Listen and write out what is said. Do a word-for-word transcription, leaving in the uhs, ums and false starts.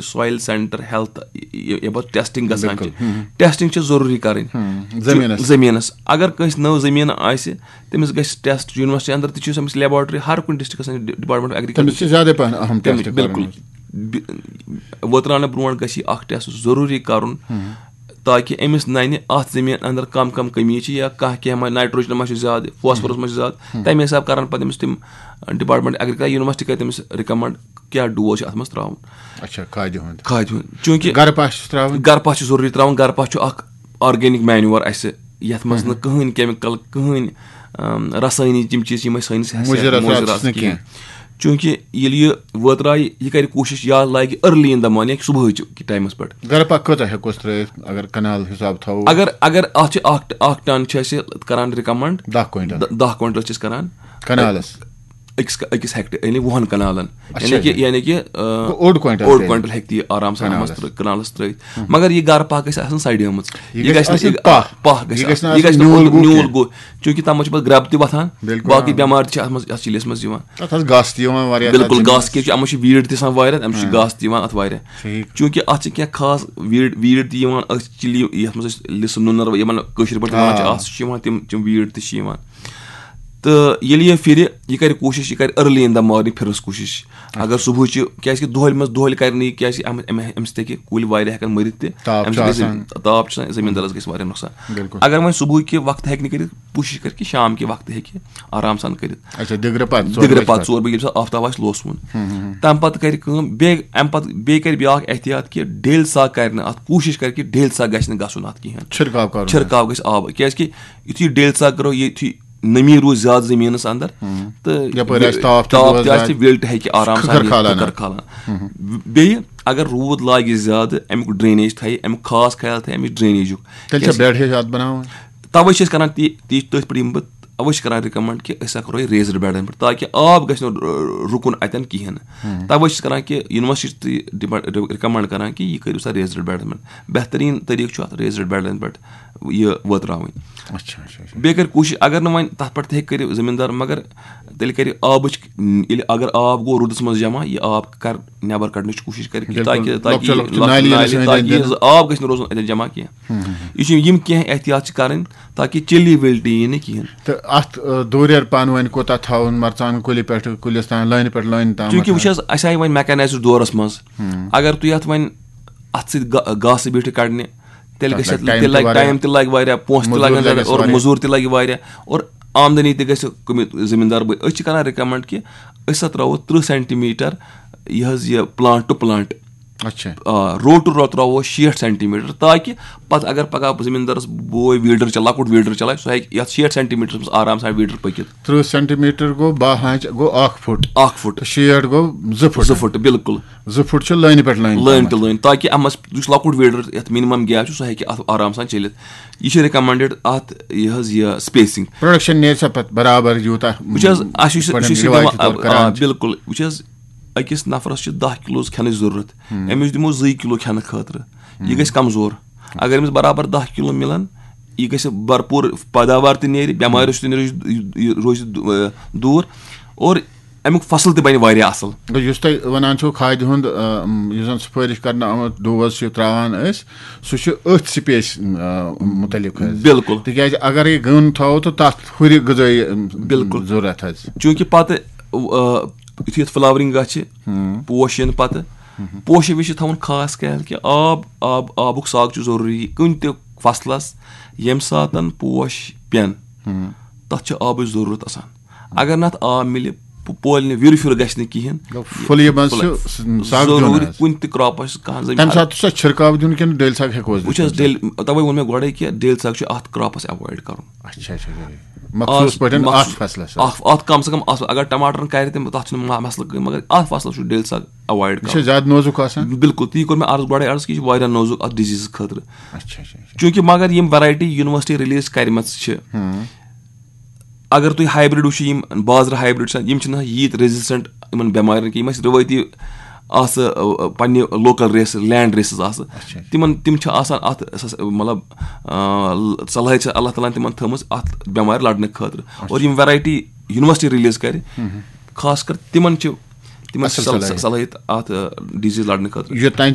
سویل centre health یَپٲرۍ testing گژھان چھِ، بِلکُل۔ ٹیسٹنگ چھِ ضروٗری کَرٕنۍ۔ زٔمیٖنَس۔ زٔمیٖنَس اگر کٲنٛسہِ نٔو زٔمیٖن آسہِ، تٔمِس گژھِ ٹیسٹ یونیورسٹی اندر تہِ چھِ أمِس لیبارٹری، ہر کُنہِ ڈسٹرکٹس اندر ڈپارٹمنٹ آف تٔمِس ایگریکلچر۔ چھِ زیادَے پَہَن اَہَم ٹیسٹ بِلکُل۔ کَرُن۔ بِ- وٲتراونہٕ برونٛٹھ گژھِ یہِ اکھ ٹیسٹ ضروٗری کَرُن، تاکہِ أمِس نَنہِ اَتھ زٔمیٖن اندر کم کم کمی چھِ یا کانٛہہ کینٛہہ ما، نائٹروجن ما چھُ زیادٕ، فاسفورس ما چھُ زیادٕ، تَمہِ حساب کَرَن پَتہٕ أمِس تِم ڈپارٹمنٹ ایگریکلچر، یونیورسٹی کَرِ تٔمِس ریکمنڈ کیٛاہ ڈوز چھُ اَتھ منٛز ترٛاوُن۔ اچھا، کھادِ ہُنٛد۔ کھادِ ہُنٛد، چوٗنٛکہِ گرٕ پاش چھُس ترٛاوُن۔ گرٕ پاش چھُ ضروٗری ترٛاوُن۔ گرٕ پاش چھُ اکھ آرگینک مینیور اَسہِ، یَتھ منٛز نہٕ کٕہٕنۍ کیمیکل، کٕہٕنۍ، ام، رسٲینی تِم چیٖز چھِ یِم أسۍ سٲنِس حیثیت مُضِر اثرات مُضِر چھِس نہٕ آسہِ کِہیٖنۍ۔ کینٛہہ۔ چوٗنٛکہِ ییٚلہِ یہِ وٲترایہِ، یہِ کَرِ کوٗشِش یا لاگہِ ارلی ان دا مارننگ، صُبحٲے کہِ ٹایمَس پٮ۪ٹھ۔ گرٕ پاش کۭژاہ ہٮ۪کوس ترٲیِتھ اگر کنال حساب تھاوو؟ اگر اگر اَتھ چھِ اکھ اکھ ٹن چھِ أسۍ کران ریکمنڈ۔ دَہ کوینٹل۔ دَ- دَہ کوینٹل چھِ أسۍ کران۔ کنالس۔ أکِس أکِس ہیکٹر یعنی وُہن کنالن۔ اچھا۔ یعنی کہِ یعنی کہِ آ، گوٚو اوٚڑ کوینٹل اوٚڑ تیٚلہِ۔ کوینٹل ہیٚکہِ تہِ یہِ آرام سان کنالس۔ اَتھ منٛز ترٛ- کنالس ترٲیِتھ۔ مگر یہِ گرٕ پاش گژھِ آسُن سڑیمٕژ۔ یہِ یہِ گژھِ گژھِ نہٕ آسٕنۍ یہِ- پاہ۔ پاہ گژھِ یہِ گژھِ آسُن۔ نہٕ یہِ گژھِ آسٕنۍ نہٕ نیوٗل اوٚنٛد گوٚو نیوٗل کینٛہہ۔ گوٚو۔ چوٗنٛکہِ تَتھ منٛز چھِ پتہٕ گرٛب تہِ وۄتھان۔ بِلکُل، باقٕے آ۔ بٮ۪مارِ تہِ چھِ اَتھ منٛز اَتھ چِلِس منٛز یِوان۔ تَتھ حظ گاسہٕ تہِ یِوان واریاہ، تَتھ بِلکُل، زٔمیٖنَس۔ گاسہٕ کیٛازِ چھُ اَتھ منٛز چھُ ویٖڈ تہِ آسان واریاہ، اَمہِ سۭتۍ چھُ ہاں۔ گاسہٕ تہِ یِوان اَتھ واریاہ۔ ٹھیٖک۔ چوٗنٛکہِ اَتھ چھِ کینٛہہ خاص ویٖڈ ویٖڈ تہِ یِوان، أسۍ چھِ چِلی یَتھ منٛز أسۍ لِسہٕ نُنَر یِمَن کٲشِر پٲٹھۍ وَنان چھِ، آ۔ اَتھ چھِ یِوان تِم تِم ویٖڈ تہِ چھِ یِوان۔ تہٕ ییٚلہِ یہِ پھِرِ، یہِ کَرِ کوٗشِش، یہِ کَرِ ارلی ان دا مارننگ پھِرنَس کوٗشِش۔ اگر صُبحٲے چھِ، کیٛازِکہِ دۄہلہِ منٛز دۄہلہِ کَرِ نہٕ یہِ، کیٛازِکہِ اَمہِ اَمہِ اَمہِ سۭتۍ ہیٚکہِ کُلۍ واریاہ ہٮ۪کَن مٔرِتھ تہِ۔ تاپھ اَمہِ چھُ سۭتۍ گژھِ آسان۔ تاپھ چھُ آسان، زٔمیٖندارَس گژھِ واریاہ نۄقصان۔ بِلکُل۔ اگر وۄنۍ صُبحٲے کہِ وقتہٕ ہیٚکہِ نہٕ کٔرِتھ، کوٗشِش کَرِ کہِ شام کہِ وقتہٕ ہیٚکہِ آرام سان کٔرِتھ۔ اچھا، دِگرٕ پَتہٕ، ژورِ دِگرٕ بَجہِ پَتہٕ ژور بَجہِ، ییٚمہِ ساتہٕ آفتاب آسہِ لوسمُت۔ تَمہِ پَتہٕ کَرِ کٲم، بیٚیہِ اَمہِ پَتہٕ بیٚیہِ کَرِ بیٛاکھ احتیاط کہِ ڈیلہِ سا کَرِ نہٕ اَتھ، کوٗشِش کَرِ کہِ ڈیلہِ سا گژھِ نہٕ گژھُن اَتھ کِہیٖنۍ۔ چھِرکاو کَرُن۔ چھِرکاو گژھِ آب، کیٛازِکہِ یُتھُے ڈیلہِ سا کَرو، ییٚتھی نٔمی روٗز زیادٕ زٔمیٖنَس اَندَر، تہٕ یَپٲرۍ آسہِ تاپھ تہِ تاپھ روزِ تہِ آسہِ، زیادٕ۔ ویلٹہِ ہیٚکہِ آرام سان کھٕکھر یِتھ، کھالان۔ کھٕکھر کھالان۔ بیٚیہِ اگر روٗد لاگہِ زیادٕ، اَمیُک ڈرٛینیج تھایہِ، اَمیُک خاص خیال تھایہِ اَمِچ ڈرٛینیجُک۔ تیٚلہِ چھا کیٛازِ بیڈ ہِش اَتھ بَناوٕنۍ؟ تَوَے چھِ أسۍ کَران تی، تی تٔتھۍ پٮ۪ٹھ یِم بہٕ، اَوَے چھِ کَران رِکَمنٛڈ کہِ أسۍ ہا کَرو یہِ ریزڈ بیڈَن پٮ۪ٹھ، تاکہِ آب گژھِ نہٕ رُ-، رُکُن اَتٮ۪ن کِہیٖنۍ نہٕ۔ تَوَے چھِ کَران کہِ یونیورسٹی تہِ ڈِپا-، رِکَمنٛڈ کَران کہِ یہِ کٔرِو سا ریزڈ بیڈَن پٮ۪ٹھ۔ بہتریٖن طریٖقہٕ چھُ اَتھ ریزڈ بیڈَن پٮ۪ٹھ یہِ وٲتراوٕنۍ۔ اچھا، اچھا، اچھا۔ بیٚیہِ کَرِ کوٗشِش، اگر نہٕ وۄنۍ تَتھ پٮ۪ٹھ تہِ ہیٚکہِ کٔرِتھ زٔمیٖندار، مگر تیٚلہِ کَرِ آبٕچ، ییٚلہِ اگر آب گوٚو روٗدَس منٛز جمع، یہِ آب کَر نٮ۪بَر کَڑنٕچ کوٗشِش کَرِ کہِ بِلکُل۔ تاکہِ تاکہِ لۄکچہِ یہِ لۄکچہِ لۄکچہِ نالہِ یِنَس نالہِ، أنٛدۍ تاکہِ أنٛدۍ۔ یہِ آب گژھِ نہٕ روزُن اَتٮ۪ن جمع کینٛہہ۔ یہِ چھِ یِم کینٛہہ احتیاط چھِ کَرٕنۍ تاکہِ چِلی وِلٹی یی نہٕ کِہیٖنۍ۔ تہٕ اَتھ، آ، دوٗریر پانہٕ ؤنۍ کوٗتاہ تھاوُن، مرژٕوانٛگن کُلہِ پٮ۪ٹھٕ کُلِس تام، لٲنہِ پٮ۪ٹھ لٲنہِ تام؟ چوٗنٛکہِ وٕچھ حظ، اَسہِ آیہِ وۄنۍ میکانایزٕڈ دورَس منٛز، اگر تُہۍ اَتھ وۄنۍ اَتھ سۭتۍ گا-، گاسہٕ بیٖٹھِ کَڑنہِ، تیٚلہِ تَتھ گژھِ لَگہِ اَتھ، ٹایم تیٚلہِ تہِ لَگہِ واریاہ۔ ٹایم تہِ لَگہِ واریاہ، پونٛسہٕ تہِ مٔزوٗر لَگَن لَگٮ۪س زیادٕ، اور واریاہ۔ مٔزوٗر تہِ لَگہِ واریاہ، اور آمدنی تہِ گژھِ کُمہِ زٔمیٖندار بہٕ۔ أسۍ چھِ کَران رِکَمنٛڈ کہِ أسۍ ہسا ترٛاوو تٕرٛہ سینٹی میٖٹر یہِ حظ یہِ پٕلانٛٹ ٹُو پٕلانٛٹ۔ اچھا۔ آ، روٹہٕ رو ترٛاوو شیٹھ سینٹی میٖٹر، تاکہِ پَتہٕ اگر پَگاہ زٔمیٖندارَس بوے ویٖڈَر چَلہِ، لۄکُٹ ویٖڈَر چَلایہِ، سُہ ہیٚکہِ یَتھ شیٹھ سینٹی میٖٹرَس منٛز آرام سان ویٖڈَر پٔکِتھ۔ تٕرٛہ سینٹی میٖٹر گوٚو باہ آنٛچہِ، گوٚو اَکھ فُٹ۔ اَکھ فُٹ۔ تہٕ شیٹھ گوٚو زٕ فُٹ۔ زٕ فُٹ، بِلکُل۔ زٕ فُٹ چھِ لٲنہِ پٮ۪ٹھ لٲنہِ لٲنہِ تامَتھ۔ تہٕ لٲنہِ، تاکہِ اَتھ منٛز یُس لۄکُٹ ویٖڈَر یَتھ مِنِمَم گیپ چھُ، سُہ ہیٚکہِ اَتھ آرام سان چٔلِتھ۔ یہِ چھِ رِکَمنڈٕڈ اَتھ یہِ حظ یہِ سپیسِنٛگ۔ پروڈکشن نیرِ سا پَتہٕ برابر یوٗتاہ؟ وٕچھ حظ، اَسہِ یُس یِتھ پٲٹھۍ یُس یہِ رِوایت دِوان، چھِ تورٕ آ، کران آ، چھِ۔ بِلکُل۔ وٕچھ حظ، أکِس نفرَس چھِ دَہ کِلوٗ کھٮ۪نٕچ ضروٗرت۔ أمِس دِمو زٕے کِلوٗ کھٮ۪نہٕ خٲطرٕ۔ یہِ گژھِ کمزور۔ اگر أمِس برابر دَہ کِلوٗ مِلَن، یہِ گژھِ بھرپوٗر پیداوار تہِ نیرِ، بٮ۪ماریو سۭتۍ نیرِ، یہِ، یہِ روزِ دو-، دوٗر۔ اور اَمیُک فصل تہِ بَنہِ واریاہ اَصٕل۔ گوٚو یُس تۄہہِ وَنان چھُو کھادِ ہُنٛد، آ، یُس زَن سُفٲرِش کرنہٕ آمُت ڈوز چھِ ترٛاوان أسۍ، سُہ چھُ أتھۍ سپیس، آ، مُتعلِق حظ۔ بِلکُل۔ تِکیٛازِ اگر یہِ گٲن تھاوو تہٕ تَتھ ہُرِ غذٲیی، آ، بِلکُل۔ ضروٗرت حظ۔ چوٗنٛکہِ پَتہٕ، آ، یُتھُے یَتھ فلاورِنٛگ گژھِ، پوش یِن پَتہٕ، پوشہِ وِزِ چھِ تھاوُن خاص خیال کہِ آب، آب، آبُک ساگ چھُ ضروٗری کُنہِ تہِ فصلَس، ییٚمہِ ساتَن پوش پٮ۪ن، تَتھ چھِ آبٕچ ضروٗرت آسان۔ اگر نہٕ اَتھ آب مِلہِ، پو-، پولہِ نہٕ، وِرِ پھیُر گژھِ نہٕ کِہیٖنۍ۔ گوٚو پھُلیہِ منٛز چھُ سُہ سَگ دیُن ضروٗری حظ۔ کُنہِ تہِ کراپَس کانٛہہ زٔمیٖن۔ تَمہِ ساتہٕ چھُ سا چھِرکاو دیُن کِنہٕ ڈیلہِ سَگ ہٮ۪کو أسۍ وٕچھ حظ، دِتھ؟ ڈیلہِ، تَوَے ووٚن مےٚ گۄڈَے کہِ ڈیلہِ سَگ چھُ اَتھ کراپَس ایوایڈ کَرُن۔ اچھا، اچھا، اچھا۔ مخصوٗص آ، پٲٹھۍ مخصوٗص-، اَتھ فصلَس حظ۔ اَکھ، اَتھ کَم سے کَم اَتھ، اگر ٹماٹرَن کَرِ تہِ، تَتھ چھُنہٕ ما-، مسلہٕ کٕہٕنۍ، مگر اَتھ فصلَس چھُ ڈیلہِ سَگ ایوایڈ یہِ چھا کَرُن۔ زیادٕ نوزُک آسان؟ بِلکُل، تی کوٚر مےٚ عرض گۄڈَے عرض کہِ یہِ چھُ واریاہ نوزُک اَتھ ڈِزیٖزٕ خٲطرٕ۔ اچھا، اچھا، اچھا۔ چوٗنٛکہِ مگر یِم ویرایٹی یونیورسٹی ریلیٖز کَرِمَژٕ چھِ، اگر تُہۍ ہایبرڈ وٕچھِو، یِم بازرٕ ہایبرڈ چھِ آسان، یِم چھِنہٕ ییٖتۍ ریزسٹنٹ یِمن بٮ۪مارٮ۪ن کینٛہہ، یِم اَسہِ رِوٲیتی آسہٕ، آ، پننہِ لوکل ریسز، لینڈ ریسز آسہٕ، اچھا۔ تِمن، تِم چھِ آسان اَتھ سس-، مطلب، آ، صلٲحیت چھِ اللہ تعالیٰ ہن تِمن تھٲومٕژ اَتھ بٮ۪مارِ لڑنہٕ خٲطرٕ۔ اور یِم ویرایٹی یونیورسٹی ریلیٖز کرِ، خاص کر تِمن چھِ یِمن چھِ اَصٕل صل- صلٲحیت۔ صلٲحیت اَتھ ڈیزیز لڑنہٕ خٲطرٕ۔ یوٚتام